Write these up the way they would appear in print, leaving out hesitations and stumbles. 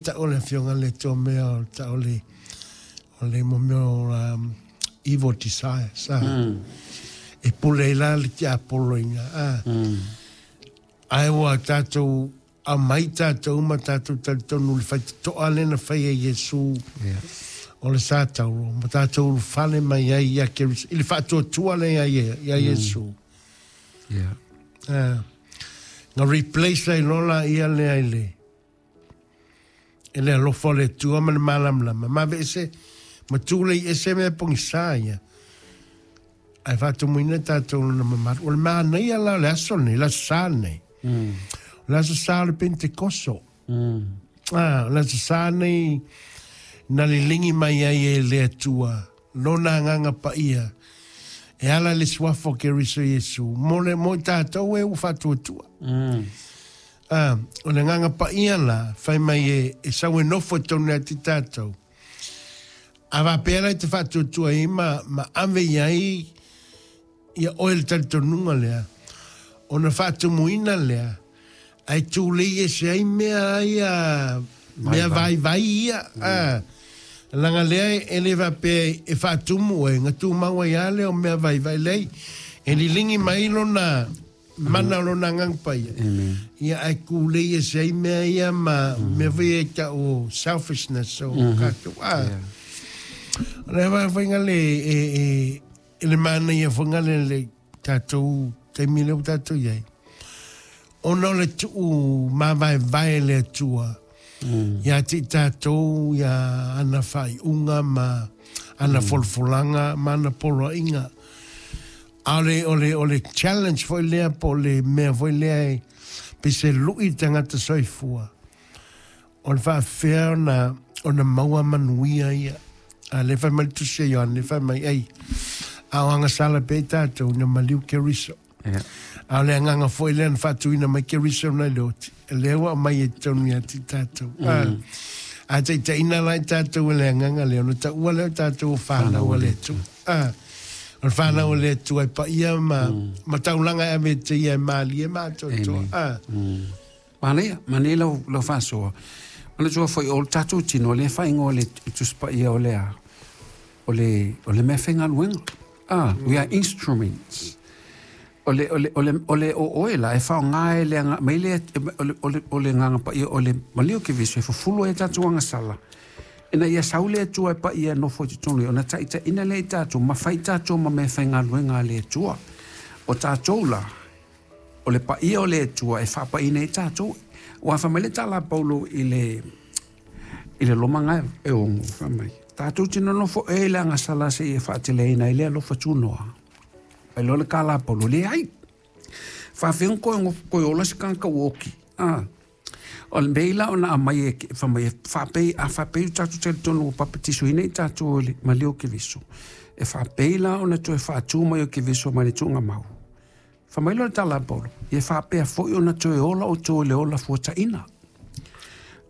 Tau o le Afioga i le Atua mea o tau o le o le mo mea o evil desires a. E pule ai la le tiapolo i ina a. Ae ua tatou aumai tatou ma tatou talitonu i le faitotoa lea na fai e Iesu o le sa tauro ma tatou ulufale mai ai ia Keriso i le faatuatua lea ia Iesu. Na replace ai loa laia lea i le E le alofa o le Atua ma le malamalama, ma aveese ma tulei ese mea pogisa ia, ae faatumuina tatou lona mamalu. O le manaia la o le aso lenei, le Aso Sa lenei, o le Aso Sa o le Penetekoso. Ah, o le Aso Sa lenei na liligi mai ai e le Atua lona Agaga Paia e ala i le suafa o Keriso Iesu mo le mo i tatou e ua faatuatua. Ā, o le Agaga Paia la, fai mai e, e sau e nofo i tonu ia te tātou. A faapea la i te faatuatua ai ma, ma ave i ai ia oe le talitonuga lea, ona faatumuina lea, ae tulei ese ai mea ia, mea vaivai ia, ā, leaga lea e le faapea e faatumu oe, na tumau ai lava lea o mea vaivai, leai, e liligi mai lona, Mana o lona Agaga Paia. Ia ae kūlei ese ai mea ia ma mea foi ia e tau o selfishness o kātou. Ah. O le wā whainga le e, e, e le manaia whainga le le tātou taimi lea ua tātou i ai. Ona o le tuu māvaevae le Atua ia te i tātou ia ana whaiunga ma ana folafolaga ma ana poloaiga. A o le, o le, o le challenge foi lea po o le mea foi lea e pei se lu'i i le tagata soifua, o le faafefea ona, ona maua manuia ia. A lea e fai mai le Tusi a Ioane, fai mai, ei, a o agasala pea i tatou ina maliu Keriso. Yeah. A o le agaga foi lea na faatuina mai Keriso nai le oti, lea ua aumai e totonu ia te tatou. A taitaiina la i tatou e le agaga lea, ona taua lea o tatou o fanau a le Atua. O le fanau a le Atua e paia ma, ma taulaga e ave e te ia e malie ma atoatoa. Manaia, manaia lau, lau faasoa. Manatua foi o le tatou tino, lea e faaigoa e le Tusi Paia o le a? O le, o le meafaigaluega. Ah, we are instruments. O le, o le, o le, o le o oe la e faaaoga e le aga, mai le, o le, o le, o le Agaga Paia, o le maliu o Keriso e fufulu ai a tatou agasala, ina ia sau le Atua e paia e nofo i totonu ia, ona taitaiina lea i tatou, ma fai tatou ma meafaigaluega a le Atua. O tatou la, o le paia o le Atua e faapaia ai tatou. Aua fai mai le tala a Paulo i le, i le Roma ga e 6, fai mai, tatou te nonofo ea i le agasala seia faateleina ai le alofa tunoa. Ai loa le tala a Paulo, leai. Faafefea ona toe, toe ola se tagata ua oti? Ah. O le mea la ona aumai e fai mai e faapei, a faapei o tatou talitonu ua papatisoina i tatou e le maliu o Keriso, e faapei la ona toe faatu mai o Keriso mai le tuugamau. Fai mai loa le tala a Paulo, ia faapea foi ona toe ola outou i le ola fuataina.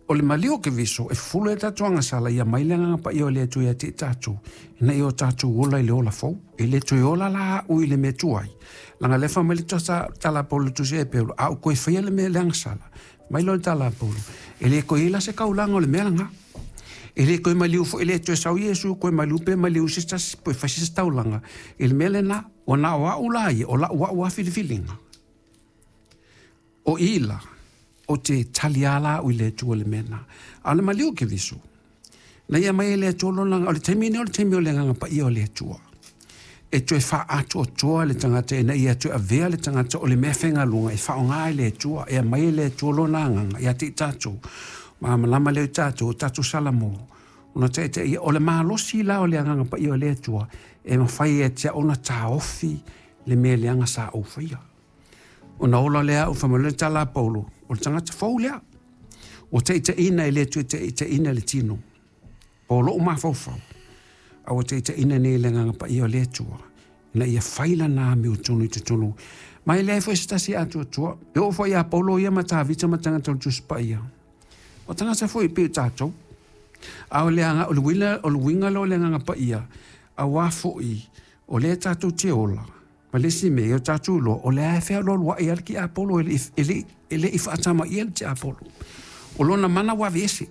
O le maliu o Keriso, e fufulu ai tatou agasala, ia mai le Agaga Paia o le Atua ia te i tatou, ina ia o tatou ola i le ola fou. E le toe ola la au i le mea tuai, leaga lea fai mai le tala a Paulo i le tusi ia Paulo, a ou toe faia le mea le agasala, mai loa le tala a Paulo, e le toe i ai la se taulaga o le mea lena. E le toe maliu foi, e le toe sau Iesu toe maliu pe maliu se tasi pe fai se taulaga i le mea lena. Ua na o au la ia, o lau au lava filifiliga. O i la, o te tali lava la au i le Atua i le mea lena. A o le maliu o Keriso, na ia mai e le Atua lona, o le taimi lenei o le taimi o le Agaga Paia o le Atua, e toe faaatoatoa le tagata ina ia toe avea le tagata o le mea faigaluega e faaaoga e le Atua, e aumai e le Atua lona Agaga ia te i tatou, malamalama lea i tatou, o tatou Salamo, ona taitaia, o le malosi la o le Agaga Paia o le Atua, e mafai ia te au ona taofi le mea leaga sa ou faia. Ona ola lea au, fai mai le tala a Paulo, o le tagata fou lea. Ua taitaiina e le toe taitaiina le tino. Po o lou mafaufau, a ua taitaiina nei e le Agaga Paia o le Atua, ina ia fai lana amiotonu i totonu. Ma e leai foi se tasi e atoatoa. E oo foi ia Paulo ia ma Tavita ma tagata o le Tusi Paia. O tagata foi e pei o tatou. A o le, o le, uiga, o le uiga lea o le Agaga Paia, aua foi o lea tatou te ola, Ma le isi mea, ia o tatou iloa, o lea e fealualuai lava le tiapolo, e le i faatamaia le tiapolo. O lona mana ua aveese.